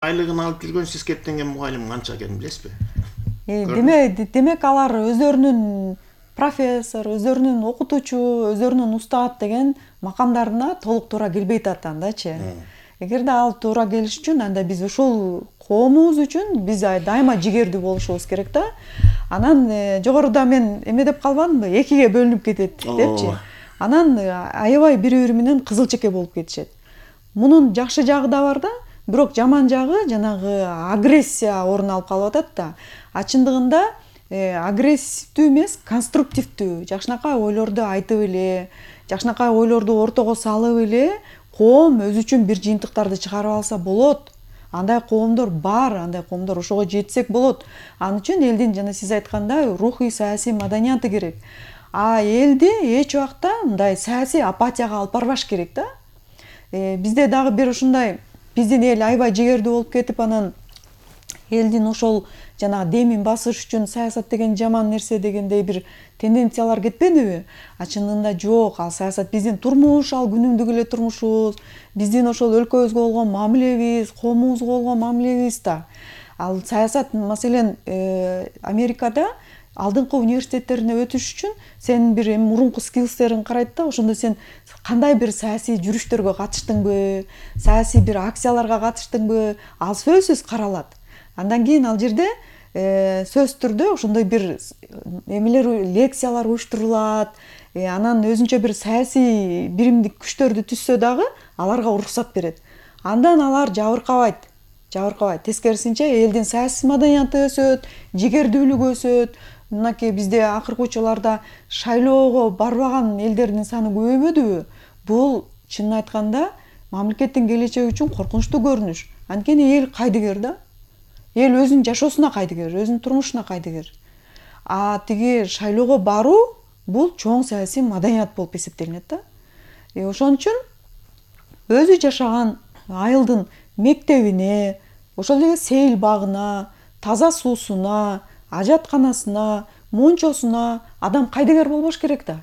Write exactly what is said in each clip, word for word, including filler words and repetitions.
айлыгын алып жүргөн сиз кеттенген мугалим канча экенин билесизби? Демек, демек алар өздөрүнүн профессор, өздөрүнүн окутуучу, өздөрүнүн устат деген макамдарына толук туура келбей атат андачы. Эгерде ал туура келиш үчүн анда биз ушул коомубуз үчүн биз дайыма жигердүү болушубуз керек да. Анан жогоруда мен эме деп калбадымбы? Экиге бөлүнүп кетет депчи. Анан аябай бири-бири менен кызыл чеке болуп кетишет. Мунун жакшы жагы да бар да, бирок жаман жагы жанагы агрессия орун алып калып атат да. А чындыгында агрессивдүү эмес, конструктивдүү, жакшынакай ойлорду айтып эле, жакшынакай ойлорду ортого салып эле коом өзү үчүн бир жыйынтыктарды чыгарып алса болот. Андай коомдор бар, андай коомдор ошого жетсек болот. Ал үчүн элдин жана сиз айткандай рухий саясий маданияты керек. А элди эч убакта мындай саясий апатияга алып барбаш керек да. Бизде дагы бир ушундай биздин эл аябай жигердүү болуп кетип, анан элдин ошол жана демин басыш үчүн саясат деген жаман нерсе дегендей бир тенденциялар кетпедиби? А чынында жок, ал саясат биздин турмуш, ал күнүмдүк эле турмушубуз, биздин ошол өлкөбүзгө болгон мамилебиз, коомубузга болгон мамилебиз да. Ал саясат маселен Америкада алдыңкы университеттерине өтүш үчүн сен бир мурунку скиллстериң карайт да, ошондо сен кандай бир саясий жүрүштөргө катыштыңбы, саясий бир акцияларга катыштыңбы, ал сөзсүз каралат. Андан кийин ал жерде сөзсүз түрдө ошондой бир эмелер, лекциялар уюштурулат. Анан өзүнчө бир саясий биримдик күчтөрдү түзсө дагы аларга уруксат берет. Андан алар жабыркабайт. Жабыркабайт. Тескерисинче элдин саясий маданияты өсөт, жигердүүлүгү өсөт. Мынакей бизде акыркы учурларда шайлоого барбаган элдердин саны көбөйбөдүбү? Бул чынын айтканда мамлекеттин келечеги үчүн коркунучтуу көрүнүш. Анткени эл кайдыгер да. Эл өзүнүн жашоосуна кайдыгер, өзүнүн турмушуна кайдыгер. А тиги шайлоого баруу бул чоң саясий маданият болуп эсептелинет да. Ошон үчүн өзү жашаган айылдын мектебине, ошол эле сейил багына, таза суусуна, ажатканасына, мончосуна адам кайдыгер болбош керек да.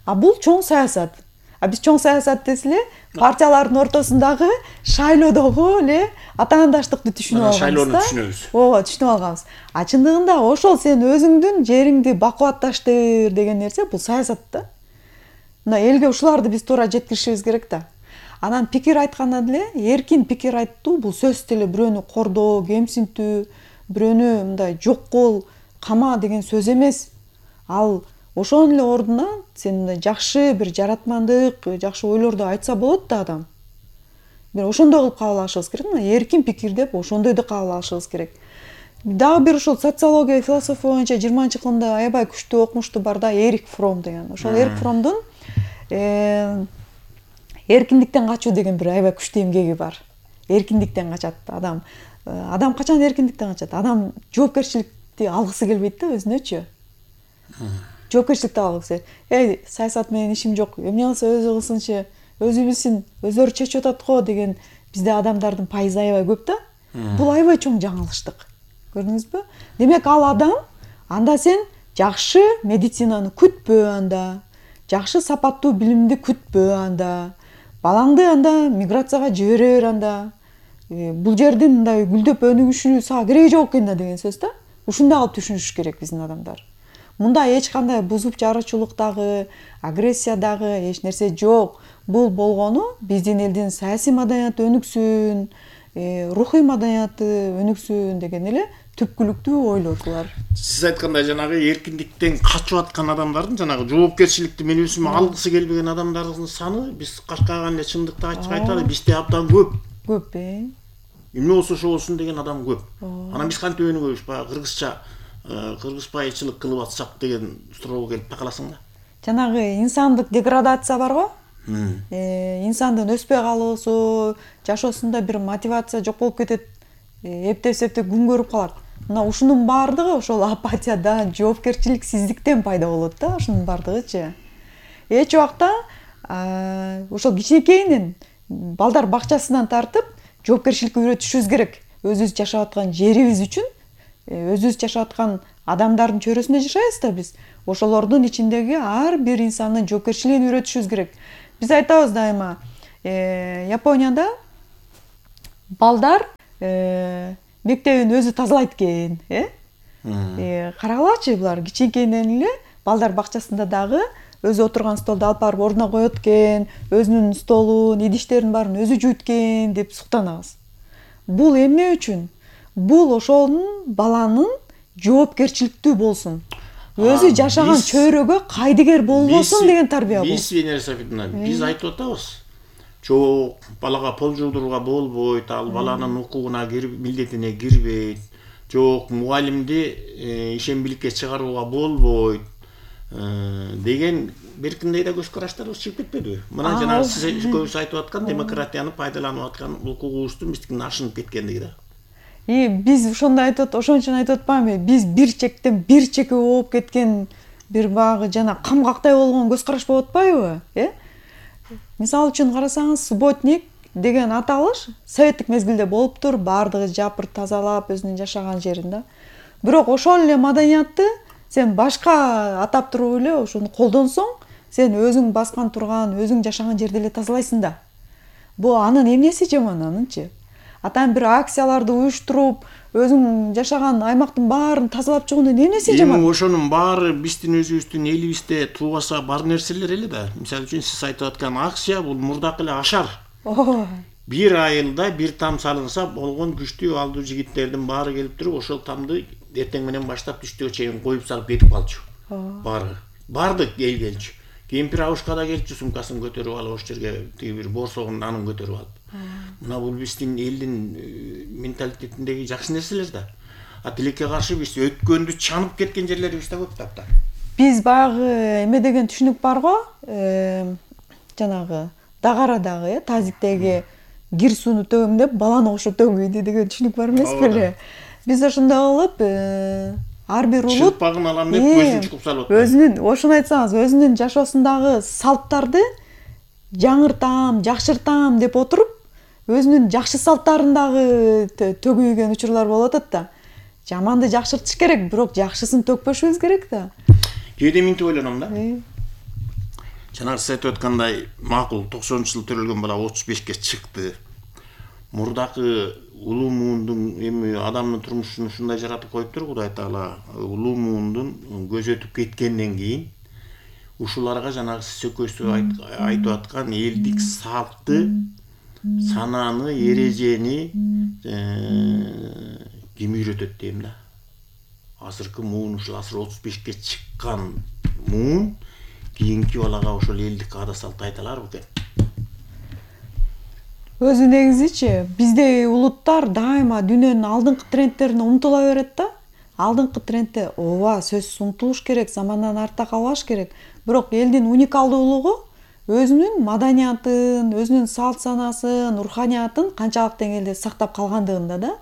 А бул чоң саясат. А биз чоң саясат десе эле партиялардын ортосундагы шайлоодогу эле атаандаштыкты түшүнүп алганбыз да. Шайлоону түшүнөбүз. Ооба, түшүнүп алганбыз. А чындыгында ошол сен өзүңдүн жериңди бакубатташтыр деген нерсе бул саясат да. Мына элге ушуларды биз туура жеткиришибиз керек да. Анан пикир айтканда деле эркин пикир айтуу бул сөзсүз эле бирөөнү кордоо, кемсинтүү, бирөөнү мындай жок кыл, кама деген сөз эмес. Ал ошонун эле ордуна сен жакшы бир жаратмандык, жакшы ойлорду айтса болот да адам. Бир ошондой кылып кабыл алышыбыз керек. Мына эркин пикир деп ошондойду кабыл алышыбыз керек. Дагы бир ошол социология, философия боюнча жыйырманчы кылымда аябай күчтүү окумушту бар да, Эрик Фром деген. Ошол Эрик Фромдун эркиндиктен качуу деген бир аябай күчтүү эмгеги бар. Эркиндиктен качат адам. Адам качан эркиндиктен качат? Адам жоопкерчиликти алгысы келбейт да өзүнөчү. Жоопкерчиликти алгысы. Эй, саясат менен ишим жок. Эмне кылса өзү кылсынчы, өзү билсин, өздөрү чечип атат го деген бизде адамдардын пайызы аябай көп да. Бул аябай чоң жаңылыштык. Көрдүңүзбү? Демек ал адам анда сен жакшы медицинаны күтпө анда. Жакшы сапаттуу билимди күтпө анда. Балаңды анда миграцияга жибере бер анда. Бул жердин мындай гүлдөп өнүгүшүнү сага кереги жок экен да деген сөз да. Ушундай кылып түшүнүш керек биздин адамдар. Мында эч кандай бузуп жаруучулук дагы, агрессия дагы эч нерсе жок. Бул болгону биздин элдин саясий маданияты өнүксүн, рухий маданияты өнүксүн деген эле түпкүлүктүү ойлор булар. Сиз айткандай жанагы эркиндиктен качып аткан адамдардын жанагы жоопкерчиликти мен өзүм алгысы келбеген адамдардын саны биз качкаган эле чындыкты ачык айталы, бизде абдан көп. Көп э. Эмне болсо ошо болсун деген адам көп. Анан биз кантип өнүгөбүз? Баягы кыргызча кыргызбайчылык кылып атсак деген суроого келип такаласың да. Жанагы инсандык деградация бар го? Инсандын өспөй калуусу, жашоосунда бир мотивация жок болуп кетет. Эптеп-септеп күн көрүп калат. Мына ушунун баардыгы ошол апатиядан, жоопкерчиликсиздиктен пайда болот да, ушунун баардыгычы. Эч убакта ошол кичинекейинен балдар бакчасынан тартып жоопкерчиликке үйрөтүшүбүз керек. Өзүбүз жашап аткан жерибиз үчүн, өзүбүз жашап аткан адамдардын чөйрөсүндө жашайбыз да биз. Ошолордун ичиндеги ар бир инсандын жоопкерчилигин үйрөтүшүбүз керек. Биз айтабыз дайыма, Японияда балдар мектебин өзү тазалайт экен, э? Карагылачы, булар кичинекейинен эле балдар бакчасында дагы өзү отурган столду алып барып ордуна коет экен, өзүнүн столун, идиштерин баарын өзү жуйт экен деп суктанабыз. Бул эмне үчүн? Бул ошонун баланын жоопкерчиликтүү болсун. Өзү жашаган чөйрөгө кайдыгер болбосун деген тарбия бул. Биз Венера Софитовна, биз айтып атабыз. Жок, балага пол жуудурууга болбойт, ал баланын укугуна кирип, милдетине кирбейт. Жок, мугалимди ишембиликке чыгарууга болбойт деген беркиндей да көз караштарыбыз чыгып кетпедиби? Мына жана сиз көбүс айтып аткан демократияны пайдаланып аткан укугубуздун биздикинен ашынып кеткендиги да. И биз ошондой айтып, ошон үчүн айтып атпаймынбы? Биз бир чектен бир чекке болуп кеткен бир багы жана камгактай болгон көз караш болуп атпайбы, э? Мисалы үчүн карасаңыз, субботник деген аталыш советтик мезгилде болуптур, баардыгы жапыр тазалап өзүнүн жашаган жерин да. Бирок ошол эле маданиятты сен башка атап туруп эле ошону колдонсоң, сен өзүң баскан турган, өзүң жашаган жерди эле тазалайсың да. Бул анын эмнеси жаман анынчы? Атан бир акцияларды уюштуруп, өзүң жашаган аймактын баарын тазалап чыгуунун эмнеси жаман? Эми ошонун баары биздин өзүбүздүн элибизде тубаса бар нерселер эле да. Мисалы үчүн сиз айтып аткан акция бул мурдакы эле ашар. Бир айылда бир там салынса болгон күчтүү алдуу жигиттердин баары келип туруп, ошол тамды эртең менен баштап түштөгө чейин коюп салып кетип калчу. Баары. Бардык эл келчү. Кемпир абышка да келчү, сумкасын көтөрүп алып, ошол жерге тиги бир борсогун анын көтөрүп алып. Мына бул биздин элдин менталитетиндеги жакшы нерселер да. А тилекке каршы биз өткөндү чанып кеткен жерлерибиз да көп тапта. Биз баягы эме деген түшүнүк бар го, жанагы Дагарадагы, э, тазиктеги кир сууну төгөм деп баланы кошуп төгөйдү деген түшүнүк бар эмес беле? Биз ошондой кылып, ар бир улут чылпагын алам деп көзүн чукуп салып атпайбы? Өзүнүн, ошону айтсаңыз, өзүнүн жашоосундагы салттарды жаңыртам, жакшыртам деп отуруп, өзүнүн жакшы салттарын дагы төгүйгөн учурлар болуп атат да. Жаманды жакшыртыш керек, бирок жакшысын төкпөшүбүз керек да. Кээде минтип ойлоном да. Жанагы сиз айтып аткандай, макул токсонунчу жылы төрөлгөн бала отуз бешке чыкты. Мурдакы улуу муундун эми адамдын турмушун ушундай жаратып коюптур Кудай Таала. Улуу муундун көзөтүп кеткенден кийин ушуларга жанагы сиз экөөсү айтып аткан элдик салтты, сананы, эрежени ким үйрөтөт дейм да. Азыркы муун, ушул азыр отуз бешке чыккан муун кийинки балага ошол элдик ада салтты айта аларбы экен? Өзү негизичи биздей улуттар дайыма дүйнөнүн алдыңкы трендтерине умтула берет да. Алдыңкы трендте ооба сөзсүз умтулуш керек, замандан артта калбаш керек. Бирок элдин уникалдуулугу өзүнүн маданиятын, өзүнүн салт санасын, руханиятын канчалык деңгээлде сактап калгандыгында да.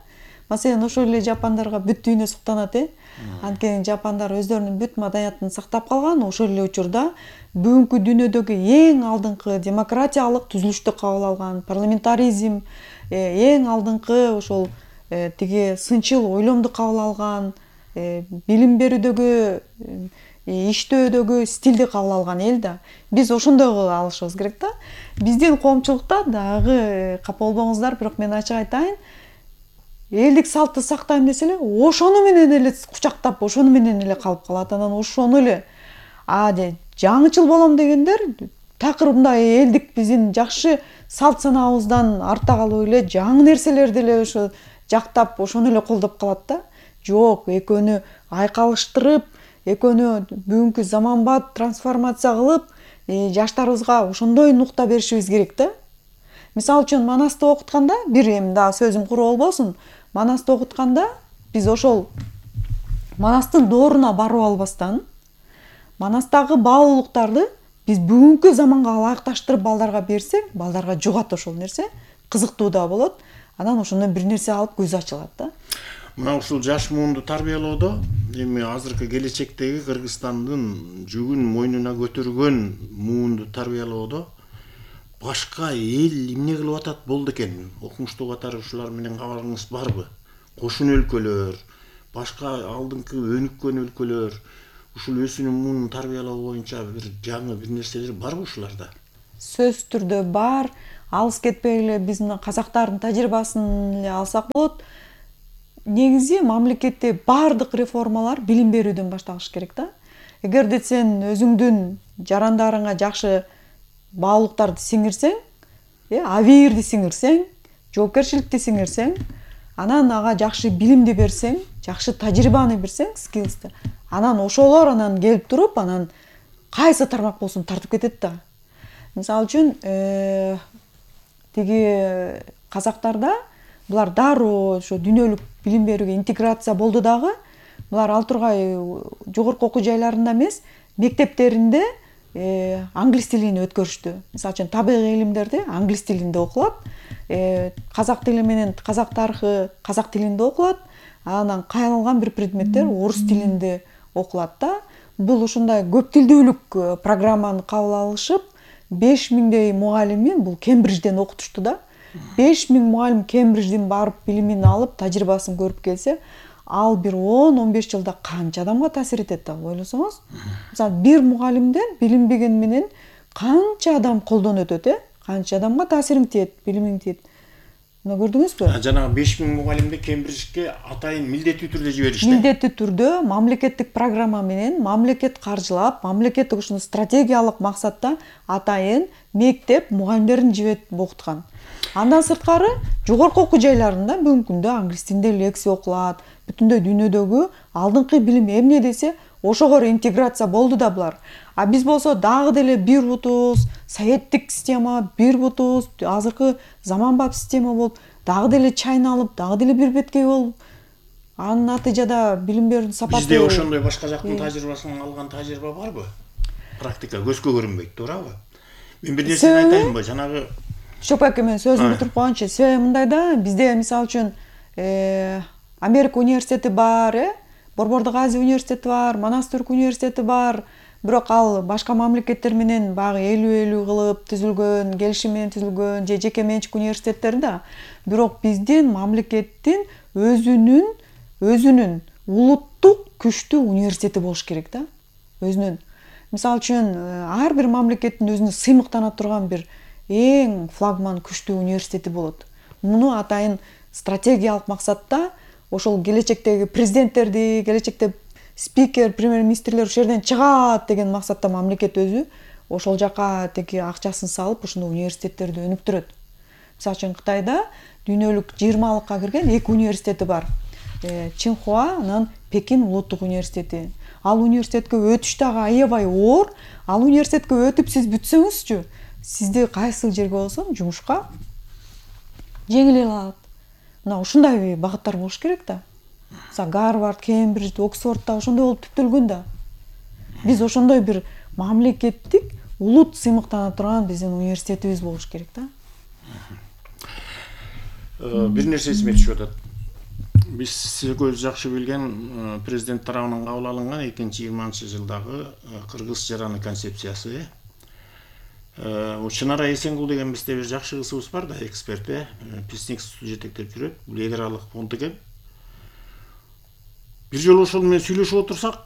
Маселен, ошол эле жапондарга бүт дүйнө суктанат, э? Анткени жапондар өздөрүнүн бүт маданиятын сактап калган, ошол эле учурда бүгүнкү дүйнөдөгү эң алдыңкы демократиялык түзүлүштү кабыл алган, парламентаризм, эң алдыңкы ошол тиги сынчыл ойломду кабыл алган, билим берүүдөгү, иштөөдөгү стилди кабыл алган эл да. Биз ошондой кылып алышыбыз керек да. Биздин коомчулукта дагы капа болбоңуздар, бирок мен ачык айтайын, элдик салтты сактайм десе эле, ошону менен эле кучактап, ошону менен эле калып калат. Анан ошону эле а жаңычыл болом дегендер такыр мындай элдик биздин жакшы салт санаабыздан артта калып эле жаңы нерселерди эле ошо жактап, ошону эле колдоп калат да. Жок, экөөнү айкалыштырып, экөөнү бүгүнкү заманбап трансформация кылып, жаштарыбызга ошондой нукта беришибиз керек да. Мисалы үчүн Манасты окутканда, бир эми дагы сөзүм куру болбосун, Манасты окутканда биз ошол Манастын дооруна барып албастан, Манастагы баалуулуктарды биз бүгүнкү заманга ылайыкташтырып балдарга берсек, балдарга жугат ошол нерсе, кызыктуу да болот. Анан ошондон бир нерсе алып көзү ачылат да. Мына ушул жаш муунду тарбиялоодо эми азыркы келечектеги Кыргызстандын жүгүн мойнуна көтөргөн муунду тарбиялоодо башка эл эмне кылып атат болду экен? Окумуштуу катары ушулар менен кабарыңыз барбы? Кошун өлкөлөр, башка алдыңкы өнүккөн өлкөлөр ушул өсүнүн муунун тарбиялоо боюнча бир жаңы бир нерселер барбы ушуларда? сөзсүз түрдө бар. Алыс кетпей эле биз мына казактардын тажрыйбасын эле алсак болот. Негизи мамлекетте бардык реформалар билим берүүдөн башталыш керек да. Эгерде сен өзүңдүн жарандарыңа жакшы баалуулуктарды сиңирсең, э, абийирди сиңирсең, жоопкерчиликти сиңирсең, анан ага жакшы билимди берсең, жакшы тажрыйбаны берсең, скиллсти, анан ошолор анан келип туруп, анан кайсы тармак болсун тартып кетет да. Мисалы үчүн, э, тиги казактарда булар дароо ошо дүйнөлүк билим берүүгө интеграция болду дагы. Булар ал тургай жогорку окуу жайларында эмес, мектептеринде э, англис тилин өткөрүштү. Мисалы үчүн табигый илимдерди англис тилинде окулат, э, казак тили менен казак тарыхы казак тилинде окулат, анан кайрылган бир предметтер орус тилинде окулат да. Бул ушундай көп тилдүүлүк программаны кабыл алышып, беш миңдей мугалимин бул Кембриджден окутушту да. беш миң мугалим Кембриджден барып билимин алып, тажрыйбасын көрүп келсе, ал бир он он беш жылда канча адамга таасир этет да, ойлосоңуз. Мисалы, бир мугалимден билим берген менен канча адам колдон өтөт, э? Канча адамга таасириң тиет, билимиң тиет. Мына көрдүңүзбү? Жанагы беш миң мугалимди Кембриджге атайын милдеттүү түрдө жиберишти. Милдеттүү түрдө мамлекеттик программа менен, мамлекет каржылап, мамлекеттик ушуну стратегиялык максатта атайын мектеп мугалимдерин жиберип окуткан. Андан сырткары жогорку окуу жайларында бүгүнкү күндө англис тилинде лекция окулат. Бүтүндөй дүйнөдөгү алдыңкы билим эмне десе, ошого интеграция болду да булар. А биз болсо дагы деле бир бутубуз, советтик система, бир бутубуз, азыркы заманбап система болуп, дагы деле чайналып, дагы деле бир беткей болуп, анын натыйжада билим берүүнүн сапаты. Бизде ошондой башка жактын тажрыйбасын алган тажрыйба барбы? Практика көзгө көрүнбөйт, туурабы? Мен бир нерсени айтайынбы? Жанагы Шопак мен сөзүмдү бүтүрүп койгончу, себеби мындай да, бизде мисалы үчүн э, Америка университети бар, э, Борбордук Азия университети бар, Монастырь университети бар, бирок ал башка мамлекеттер менен багы элүү элүү кылып түзүлгөн, келишим менен түзүлгөн же жеке менчик университеттер да. Бирок биздин мамлекеттин өзүнүн өзүнүн улуттук күчтүү университети болуш керек да. Өзүнүн. Мисалы үчүн, ар бир мамлекеттин өзүнө сыймыктана турган бир эң флагман күчтүү университети болот. Муну атайын стратегиялык максатта ошол келечектеги президенттерди, келечекте спикер, премьер-министрлер ошол жерден чыгат деген максатта мамлекет өзү ошол жака теги акчасын салып, ушуну университеттерди өнүктүрөт. Мисалы үчүн Кытайда дүйнөлүк жыйырмалыкка кирген эки университети бар. Э, Чинхуа, анан Пекин улуттук университети. Ал университетке өтүш дагы аябай оор. Ал университетке өтүп сиз бүтсөңүзчү, сизди кайсы жерге болсо жумушка жеңил алат. Мына ушундай багыттар болуш керек да. Мисалы Гарвард, Кембридж, Оксфордда ошондой болуп түптөлгөн да. Биз ошондой бир мамлекеттик улут сыймыктана турган биздин университетибиз болуш керек да. Бир нерсе эсиме түшүп атат. Биз көз жакшы билген президент тарабынан кабыл алынган экинчи жыйырманчы жылдагы кыргыз жараны концепциясы. Чынара Эсенгул деген бизде бир жакшы кызыбыз бар да, эксперт, Песник жетектеп жүрөт, бул эл аралык фонд экен. Бир жолу ошол менен сүйлөшүп отурсак,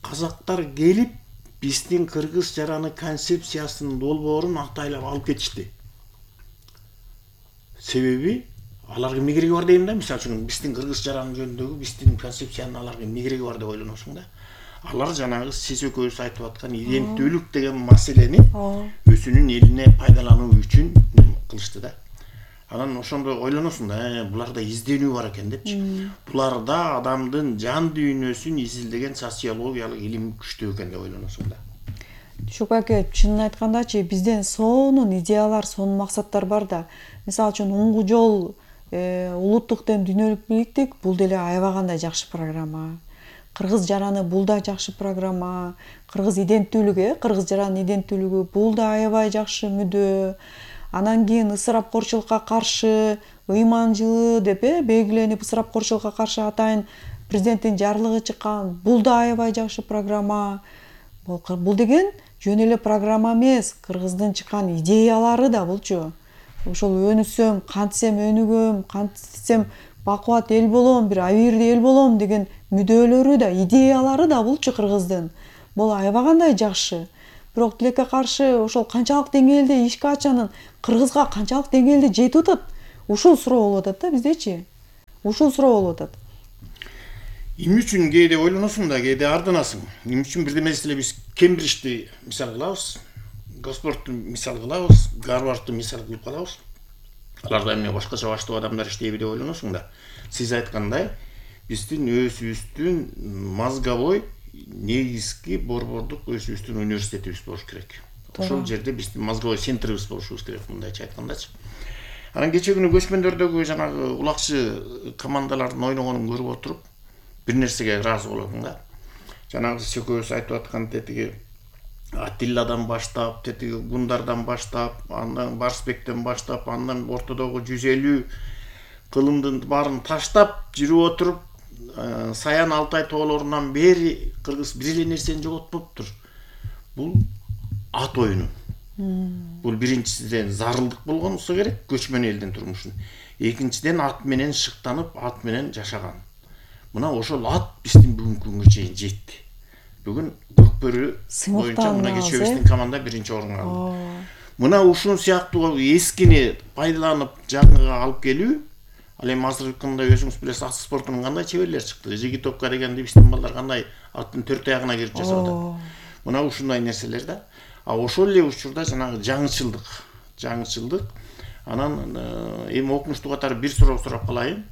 казактар келип биздин кыргыз жараны концепциясынын долбоорун актайлап алып кетишти. Себеби аларга мигереги бар дейм да, мисалы үчүн биздин кыргыз жараны жөнүндөгү биздин концепциянын аларга мигереги бар деп ойлоносуң да. Алар жанагы сиз экөөбүз айтып аткан иденттүүлүк деген маселени өзүнүн элине пайдалануу үчүн кылышты да. Анан ошондо ойлоносуң да, буларда изденүү бар экен депчи. Буларда адамдын жан дүйнөсүн изилдеген социологиялык илим күчтүү экен деп ойлоносуң да. Шоп аке, чынын айткандачы, бизден сонун идеялар, сонун максаттар бар да. Мисалы үчүн уңгу жол, э, улуттук ден дүйнөлүк бийликтик, бул деле аябагандай жакшы программа. Кыргыз жараны бул да жакшы программа. Кыргыз иденттүүлүгү, кыргыз жаранын иденттүүлүгү бул да аябай жакшы мүдө. Анан кийин ысырапкорчулукка каршы ыйман жылы деп э белгиленип, ысырапкорчулукка каршы атайын президенттин жарлыгы чыккан. Бул да аябай жакшы программа. Бул деген жөн эле программа эмес, кыргыздын чыккан идеялары да булчу. Ошол өнүсөм, кантсем өнүгөм, кантсем бакубат эл болом, бир абийирди эл болом деген мүдөлөрү да, идеялары да булчу кыргыздын. Бул аябагандай жакшы. бирок тилекке каршы ошол канчалык деңгээлде ишке ачанын кыргызга канчалык деңгээлде жетип атат? Ушул суроо болуп атат да биздечи. Ушул суроо болуп атат. Эмне үчүн кээде ойлоносуң да, кээде ардынасың. Эмне үчүн бирдемеси эле биз Кембриджди мисал кылабыз, Госфордту мисал кылабыз, Гарвардты мисал кылып калабыз. Аларда эмне башкача баштуу адамдар иштейби деп ойлоносуң да. Сиз айткандай, биздин өзүбүздүн мозговой негизги борбордук өзүбүздүн университетибиз болуш керек. Ошол жерде биздин мозговой центрибиз болушубуз керек, мындайча айткандачы. Анан кече күнү көчмөндөрдөгү жанагы улакчы командалардын ойногонун көрүп отуруп, бир нерсеге ыраазы болдум да. Жанагы сиз экөөбүз айтып аткан тетиги Аттиладан баштап, тетиги Гундардан баштап, андан Барсбектен баштап, андан ортодогу жүз элүү кылымдын баарын таштап жүрүп отуруп, Саян Алтай тоолорунан бери кыргыз бир эле нерсени жоготпоптур. Бул ат оюну. Бул биринчиден зарылдык болгонсо керек көчмөн элдин турмушун. Экинчиден ат менен шыктанып, ат менен жашаган. Мына ошол ат биздин бүгүнкү күнгө чейин жетти. Бүгүн Көкбөрү боюнча мына кечебиздин команда биринчи орунга алды. Мына ушул сыяктуу эскини пайдаланып жаңыга алып келүү, ал эми азыркы күндө өзүңүз билесиз, ат спортунун кандай чеберлери чыкты. Жигитовка дегенди биздин балдар кандай аттын төрт аягына кирип жасап атат. Мына ушундай нерселер да. А ошол эле учурда жанагы жаңычылдык, жаңычылдык. Анан эми окумуштуу катары бир суроо сурап калайын.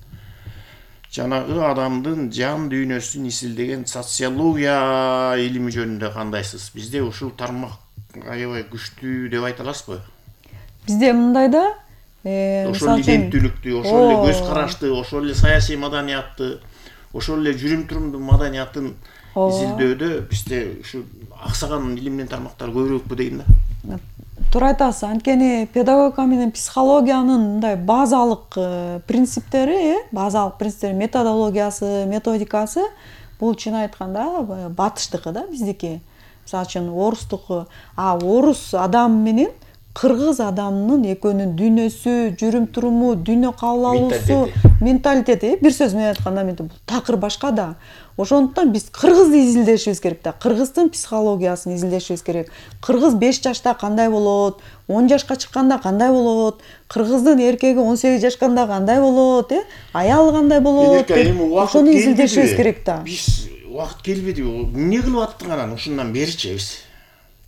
Жанагы адамдын жан дүйнөсүн изилдеген социология илими жөнүндө кандайсыз? Бизде ушул тармак аябай күчтүү деп айта аласызбы? Бизде мындай да, ошол эле илимдүүлүктү, ошол эле көз карашты, ошол эле саясий маданиятты, ошол эле жүрүм-турумдун маданиятын изилдөөдө бизде ушу аксаган илимдин тармактары көбүрөөкпү дейм да. Туура айтасыз. Анткени педагогика менен психологиянын мындай базалык принциптери, базалык принциптери, методологиясы, методикасы бул чын айтканда батыштыкы да, биздики. Мисалы үчүн орустуку, а орус адам менен кыргыз адамынын экөөнүн дүйнөсү, жүрүм-туруму, дүйнө кабыл алуусу, менталитети, бир сөз менен айтканда бул такыр башка да. Ошондуктан биз кыргызды изилдешибиз керек да, кыргыздын психологиясын изилдешибиз керек. Кыргыз беш жашта кандай болот, он жашка чыкканда кандай болот, кыргыздын эркеги он сегиз жашканда кандай болот, э? Аялы кандай болот, ошону изилдешибиз керек да. Биз убакыт келбедиби? Эмне кылып аттың анан ушундан беричи биз?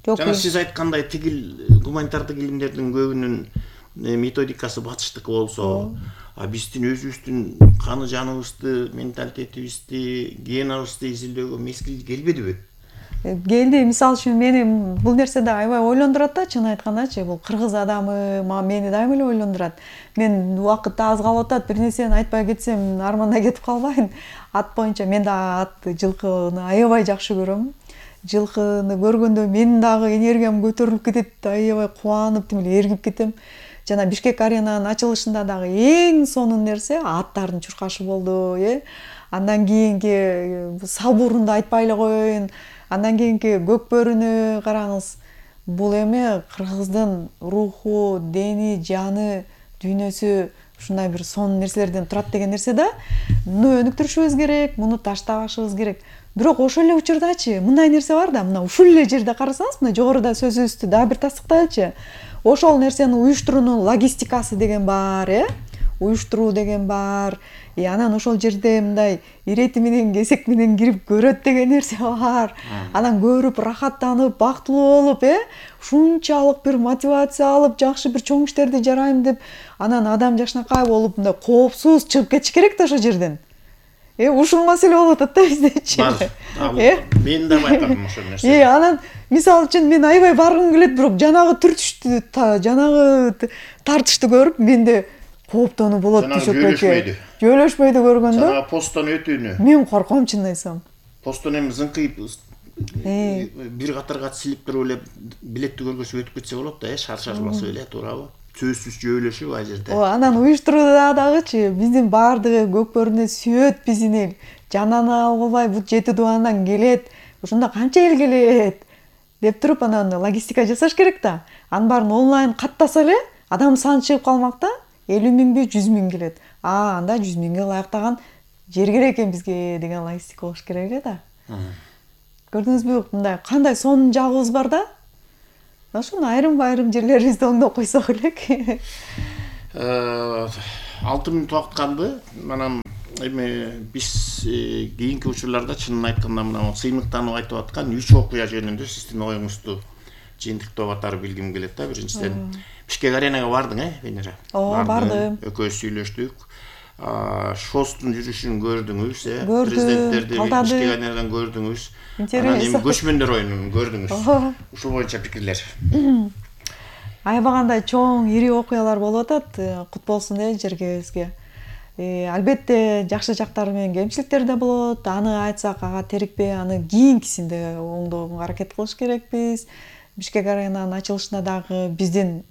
Жана сиз айткандай тигил гуманитардык илимдердин көбүнүн методикасы батыштыкы болсо, а биздин өзүбүздүн каны жаныбызды, менталитетибизди, генабызды изилдөөгө мезгил келбедиби? Келди. Мисалы үчүн мени бул нерседе аябай ойлондурат да, чын айткандачы, бул кыргыз адамы мени дайыма эле ойлондурат. Мен убакыт аз калып атат, бир нерсени айтпай кетсем арманда кетип калбайын. Ат боюнча мен да ат, жылкыны аябай жакшы көрөм. Жылкыны көргөндө менин дагы энергиям көтөрүлүп кетет, аябай кубанып, тим эле эргип кетем. Жана Бишкек аренанын ачылышында дагы эң сонун нерсе аттардын чуркашы болду, э? Андан кийинки Салбурунду айтпай эле коеюн. Андан кийинки Көкбөрүнү караңыз. Бул эми кыргыздын руху, дени, жаны, дүйнөсү ушундай бир сонун нерселерден турат деген нерсе да. Муну өнүктүрүшүбүз керек, муну таштабашыбыз керек. Бирок ошол эле учурдачы мындай нерсе бар да, мына ушул эле жерде карасаңыз, мына жогоруда сөзүбүздү дагы бир тастыктайлычы. Ошол нерсени уюштуруунун логистикасы деген бар, э? Уюштуруу деген бар. И анан ошол жерде мындай ирети менен кесек менен кирип көрөт деген нерсе бар. Анан көрүп, рахаттанып, бактылуу болуп, э? Ушунчалык бир мотивация алып, жакшы бир чоң иштерди жарайм деп, анан адам жакшынакай болуп, мындай коопсуз чыгып кетиш керек да ошол жерден. Э, ушул маселе болуп атат да биздечи. Э, мен да байкадым ошол нерсени. Э, анан мисалы үчүн мен аябай баргым келет, бирок жанагы түртүштү, жанагы тартышты көрүп, менде кооптонуу болот түшөккө. Жөйлөшпөйдү көргөндө. Жанагы посттон өтүүнү. Мен корком, чын айтсам. Посттон эми зыңкыйып бир катарга силип туруп эле билетти көргөзүп өтүп кетсе болот да, э, шар-шар басып эле, туурабы? Сөзсүз жөйлөшүп ал жерде. О, анан уюштурууда дагычы биздин баардыгы Көкбөрүнө сүйөт бизини. Жананы албай бут жети дубандан келет. Ошондо канча эл келет деп туруп анан логистика жасаш керек да. Анын баарын онлайн каттаса эле адам саны чыгып калмак да. элүү миңби, жүз миң келет. А, анда жүз миңге ылайыктаган жер керек экен бизге деген логистика болуш керек эле да. Көрдүңүзбү, мындай кандай сонун жагыбыз бар да? ошону айрым айрым жерлерибизди оңдоп койсок элек. алты мүнөт убакыт калды. Манан эми биз кийинки учурларда чынын айтканда мына сыймыктанып айтып аткан үч окуя жөнүндө сиздин оюңузду жыйынтыктап атары билгим келет да. Биринчиден Бишкек аренага бардың, э, Венера? Ооба, бардым. Экөөбүз сүйлөштүк. Шостун жүрүшүн көрдүңүз, э? Көрдүм, Президенттерди калтады. Бишкек аренадан көрдүңүз. Интерес. Анан эми көчмөндөр оюнун көрдүңүз. Ооба. Ушул боюнча пикирлер. Аябагандай чоң, ири окуялар болуп атат, кут болсун э жергебизге. Албетте жакшы жактары менен кемчиликтер да болот. Аны айтсак ага терикпей, аны кийинкисинде оңдоого аракет кылыш керекпиз. Бишкек аренанын ачылышында дагы биздин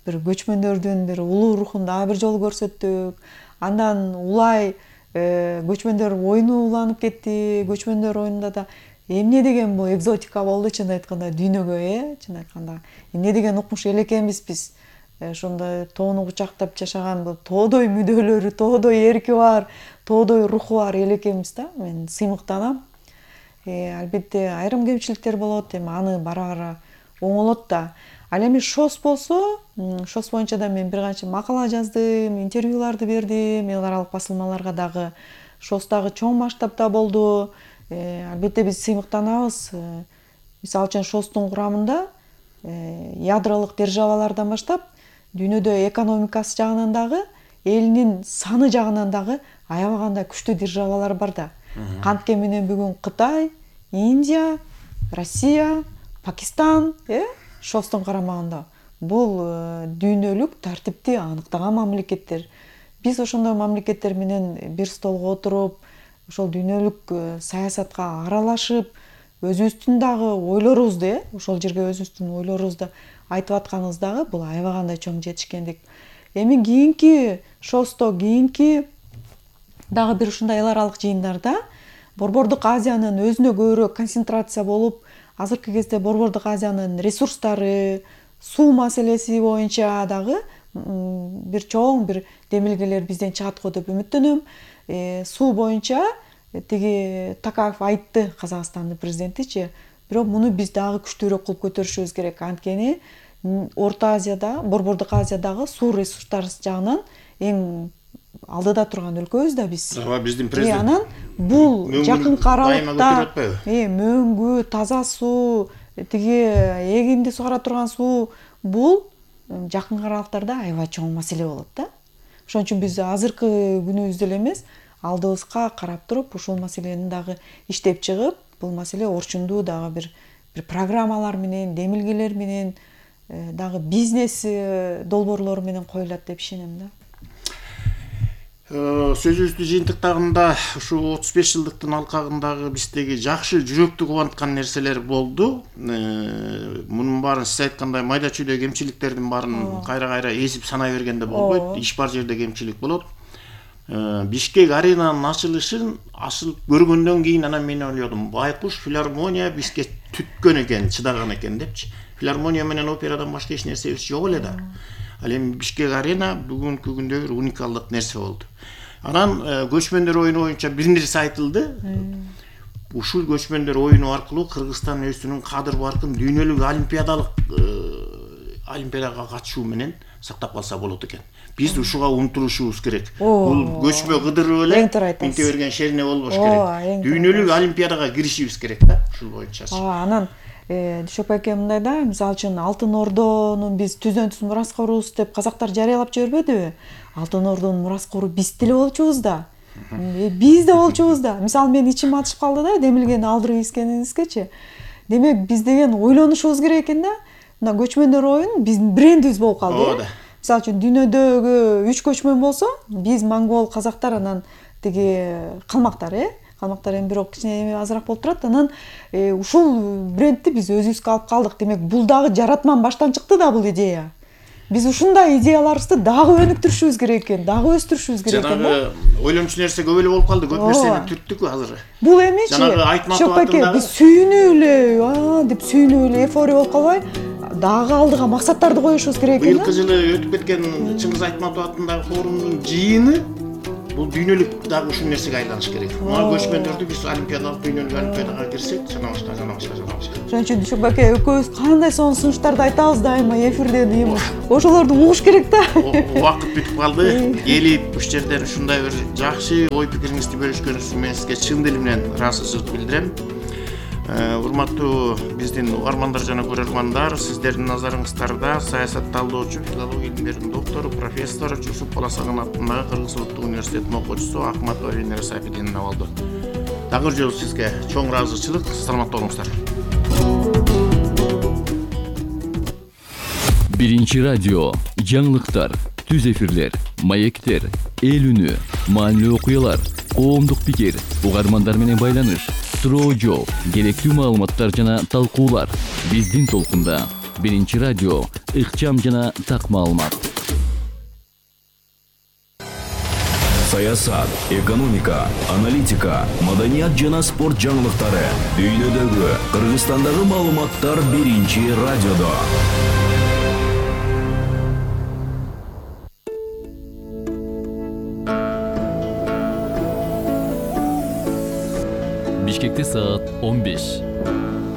бир көчмөндөрдүн бир улуу рухун дагы бир жолу көрсөттүк. Андан улай көчмөндөр оюну уланып кетти. Көчмөндөр оюнунда да эмне деген бул экзотика болду, чын айтканда дүйнөгө, э, чын айтканда. Эмне деген укмуш эл экенбиз биз. Ошондой тоону кучактап жашаган бул тоодой мүдөлөрү, тоодой эрки бар, тоодой руху бар эл экенбиз да. Мен сыймыктанам. Албетте айрым кемчиликтер болот, эми аны бара-бара оңолот да. Ал эми ШОС болсо, ШОС боюнча да мен бир канча макала жаздым, интервьюларды бердим, эл аралык басылмаларга дагы. ШОС дагы чоң масштабта болду. Албетте биз сыймыктанабыз. Мисалы үчүн ШОСтун курамында ядролук державалардан баштап дүйнөдө экономикасы жагынан дагы, элинин саны жагынан дагы аябагандай күчтүү державалар бар да. Кантке менен бүгүн Кытай, Индия, Россия, Пакистан, э, ШОСтун карамагында. Бул дүйнөлүк тартипти аныктаган мамлекеттер. Биз ошондой мамлекеттер менен бир столго отуруп, ошол дүйнөлүк саясатка аралашып, өзүбүздүн дагы ойлорубузду, э, ошол жерге өзүбүздүн ойлорубузду айтып атканыбыз дагы бул аябагандай чоң жетишкендик. Эми кийинки ШОСто, кийинки дагы бир ушундай эл аралык жыйындарда Борбордук Азиянын өзүнө көбүрөөк концентрация болуп, азыркы кезде Борбордук Азиянын ресурстары, суу маселеси боюнча дагы бир чоң бир демилгелер бизден чыгат го деп үмүттөнөм. Суу боюнча тиги Такаев айтты, Казакстандын президентичи, бирок муну биз дагы күчтүүрөөк кылып көтөрүшүбүз керек. Анткени Орто Азияда, Борбордук Азиядагы суу ресурстары жагынан эң алдыда турган өлкөбүз да биз. Ооба, биздин президент. Анан бул жакынкы аралыкта мөңгү, таза суу, тиги эгинди сугара турган суу, бул жакынкы аралыктарда аябай чоң маселе болот да. Ошон үчүн биз азыркы күнүбүздө эле эмес, алдыбызга карап туруп, ушул маселени дагы иштеп чыгып, бул маселе орчундуу дагы бир бир программалар менен, демилгелер менен, дагы бизнес долбоорлору менен коюлат деп ишенем да. Сөзүбүздү жыйынтыктаганда ушу отуз беш жылдыктын алкагындагы биздеги жакшы жүрөктү кубанткан нерселер болду. Мунун баарын сиз айткандай майда чүйдө кемчиликтердин баарын кайра-кайра эзип санай бергенде болбойт. Иш бар жерде кемчилик болот. Бишкек аренанын ачылышын асыл көргөндөн кийин анан мен ойлодум, байкуш филармония бизге түткөн экен, чыдаган экен депчи. Филармония менен операдан башка эч нерсебиз жок эле да. Ал эми Бишкек арена бүгүнкү күндө бир уникалдык нерсе болду. Анан көчмөндөр оюну боюнча бир нерсе айтылды. Ушул көчмөндөр оюну аркылуу Кыргызстан өзүнүн кадыр баркын дүйнөлүк олимпиадалык олимпиадага катышуу менен сактап калса болот экен. Биз ушуга умтулушубуз керек. Бул көчмө кыдырып эле минте берген шерине болбош керек. Дүйнөлүк олимпиадага киришибиз керек да, ушул боюнча. Анан Дүйшөк эке мындай да, мисалы үчүн Алтын Ордонун биз түзөнтүс мураскорубуз деп казактар жарыялап жибербедиби? Алтын Ордонун мураскору биз деле болчубуз да. Биз да болчубуз да. Мисалы мен ичим атышып калды да, демилгени алдырып ийскениңизгечи. Демек биз деген ойлонушубуз керек экен да. Мына көчмөндөр оюн биздин брендибиз болуп калды. Мисалы үчүн дүйнөдөгү үч көчмөн болсо, биз монгол, казактар, анан тиги калмактар, э? Калмактар эми бирок кичине азыраак болуп турат. Анан ушул брендти биз өзүбүзгө алып калдык. Демек бул дагы жаратман баштан чыкты да бул идея. Биз ушундай идеяларыбызды дагы өнүктүрүшүбүз керек экен, дагы өстүрүшүбүз керек экен. Жанагы ойломчу нерсе көп эле болуп калды, көп нерсени түрттүк азыр. Бул эмичи? Жанагы Айтматов атындагы биз сүйүнүп эле, а деп сүйүнүп эле эйфория болуп калбай, дагы алдыга максаттарды коюшубуз керек экен. Быйылкы жылы өтүп кеткен Чыңгыз Айтматов атындагы форумдун жыйыны бул дүйнөлүк дагы ушул нерсеге айланыш керек. Мына көчмөндөрдү биз олимпиадалык дүйнөлүк олимпиадага кирсек, жана башка жана башка жана башка. Ошон үчүн Дүйшөк аке экөөбүз кандай сонун сунуштарды айтабыз дайыма эфирде дейм. Ошолорду угуш керек да. Убакыт бүтүп калды. Келип ушул жерден ушундай бир жакшы ой пикириңизди бөлүшкөнүңүз менен сизге чын дилим менен ыраазычылык билдирем. Урматтуу биздин угармандар жана көрөрмандар, сиздердин назарыңыздарда саясат талдоочу, филология илимдеринин доктору, профессор Жусуп Баласагын атындагы Кыргыз Улуттук университетинин окуучусу Ахматова Венера Сапидиновна болду. Дагы жолу сизге чоң ыраазычылык, саламатта болуңуздар. Биринчи радио, жаңылыктар, түз эфирлер, маектер, эл үнү, маанилүү окуялар, коомдук пикир, угармандар менен байланыш, суроо жооп, керектүү маалыматтар жана талкуулар. Биздин толкунда Биринчи радио, ыкчам жана так маалымат. Саясат, экономика, аналитика, маданият жана спорт жаңылыктары. Дүйнөдөгү, Кыргызстандагы маалыматтар Биринчи радиодо. Бишкекте саат он беш.